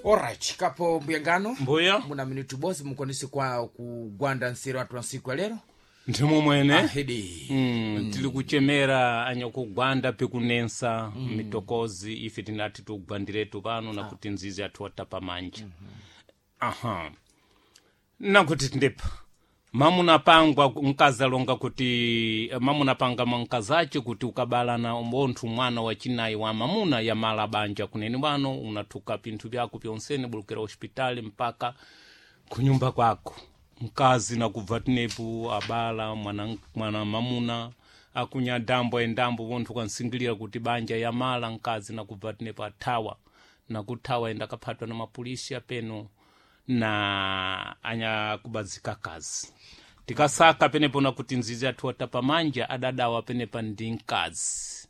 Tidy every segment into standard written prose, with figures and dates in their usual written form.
Alright, kapo mbuyangano Mbuya muna minutu bosi mukwanise kwa kugwanda nseru atu wa nsiku ya lero ndimo mwene ahidi. Tili kuchemera anyakugwanda pikunensa mitokozi ife tinati tugwandiretu pano nakuti nzizi athu atapa manja. Aha, nakuti tindepa mamuna pangwa nkazalonga kuti mamuna panga mwankazace kuti ukabalana mbonthu mwana wa chinayi wa mamuna yamala banja kuneni wano unathuka pinthu pyako pyonsene bulukira hospitali mpaka kunyumba kwako. Mkazi nakubva tinepu abala mwana, mwana mamuna akunya dambo endambo vonthu kansingilira kuti banja yamala. Mkazi nakubva tinepu athawa, nakuthawa enda akaphatwa na mapolisi apeno na anyakubazika kazi. Tikasaka penepo nakuti nzizi athu atapamanja adadawa penepa ndi mkazi,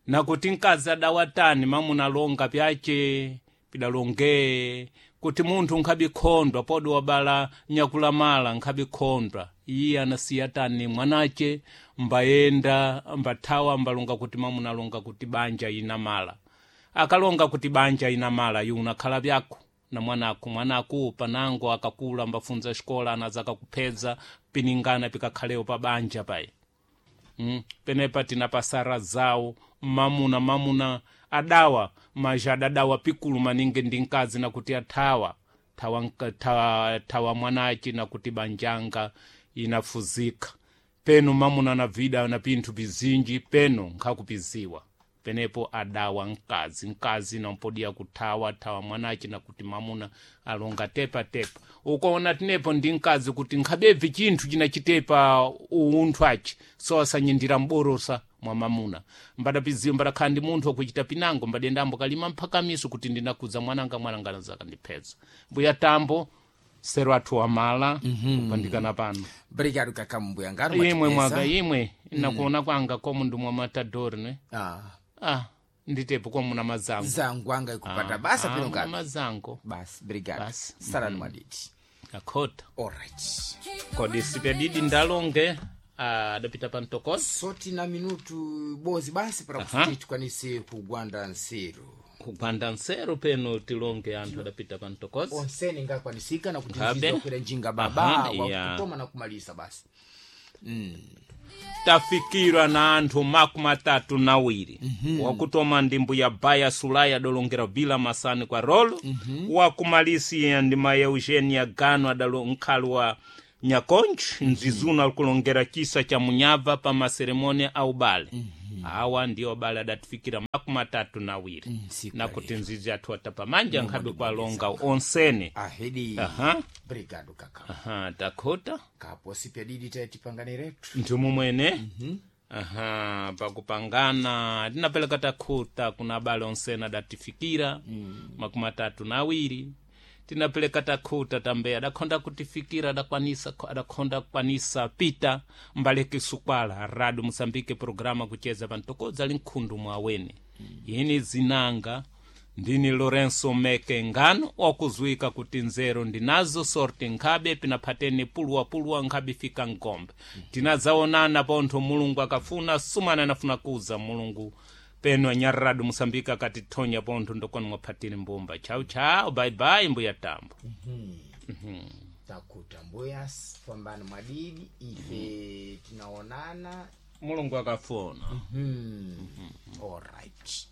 nakuti mkazi adawatani mamuna longa pyace pidalonge kuti munthu nkhabikhondwa podi wabala nyakulamala nkhabikhondwa. Iye anasiya tani mwanace mbayenda mbathawa mbalonga kuti mamuna alonga kuti banja inamala. Akalonga kuti banja inamala iwe unakhala byako na mwanako, mwanako panango akakula mbafunza xikola anaza akakuphedza piningana pikakhalewo pa banja payi. Penepa tinapasara zawo mamuna mamuna adawa maja adadawa pikulu maningi ndi mkazi nakuti athawa thawa, thawa, thawa mwanaci nakuti banjanga inafuzika peno mamuna na vida na pinthu pizinji peno nkhakupiziwa penepo adawa mkazi, mkazi nampodiya kuthawa thawa mwanaci nakuti mamuna alonga tepa tepa. Ukaona tinepo ndi mkazi kuti nkhabebvi chinthu chinachitepa unthu aci so asanyindira mborosa mwa mamuna mbadapiziwa mbadakhala ndi munthu wakuchita pinango mbadendambo kalima mphakamiso kuti ndinakuza mwananga, mwananga nazakandiphetsa. Mbuya tambo sero athu wamala kupandikana pano. Obrigado kaka mbuyangano. Imwe mwatipeza. mwaga imwe nakuona kwanga komu ndi mwa matadori ne. Ah, ah, nditepo komu na mazango zangu anga ikupata basa pino muna kapi mazango. Basi, obrigado. Basi. Salani mwadidi. Akhota. Alright. Kodi sipyadidi ndalonge adapita pa mtokozi. Soti na minutu bozi basi para kuti tikwanise kugwanda nseru. Kugwanda nseru peno tilonge anthu adapita pa mtokozi. Onsene ngakwanisika nakuti Ngabe. nzizi wakwera njinga baba Aha, iya. wakutoma na kumalisa basi. Tafikirwa na anthu 32. Wakutoma ndi mbuya baya sulai adalongera vila masani kwa rolo. Wakumalisiya ndi ma eugenia gano adalo nkhali wa nyakonji nzizuna akulongera chisa cha munyava pa maseremoni a ubale. Awa ndiwo abale adatifikira 32. Siku nakuti nzizi athu atapamanja nkhabe kwalonga onsene. Ahedi. Aha. Obrigado kaka. Aha, takhota. Kapo sipyadidi taitipangane retu. Nthumu mwene. Aha, pakupangana tinapeleka takhuta kuna abale onsene adatifikira 32. Tinapeleka takhuta tambe adakhonda kutifikira adakwanisa adakhonda kukwanisa pita mbaleke sukwala rado musambike programa kucheza pantokodza ali mkhundu mwaweni. Yini zinanga ndini Lorenso Meke ngano wakuzwika kuti nzeru ndinazo sorti nkhabe pinaphatene puluwapuluwa nkhabe fika ngombe. Tinadzaonana pontho mulungu akafuna sumana anafuna kuza mulungu peno anyararado musambika akatithonya pontho ndokona mwaphatire mbumba. Chau chau, bye bye mbuya tambo. Takuta mbuya fambani mwadidi ife tinaonana Mulungu akafuna. Alright.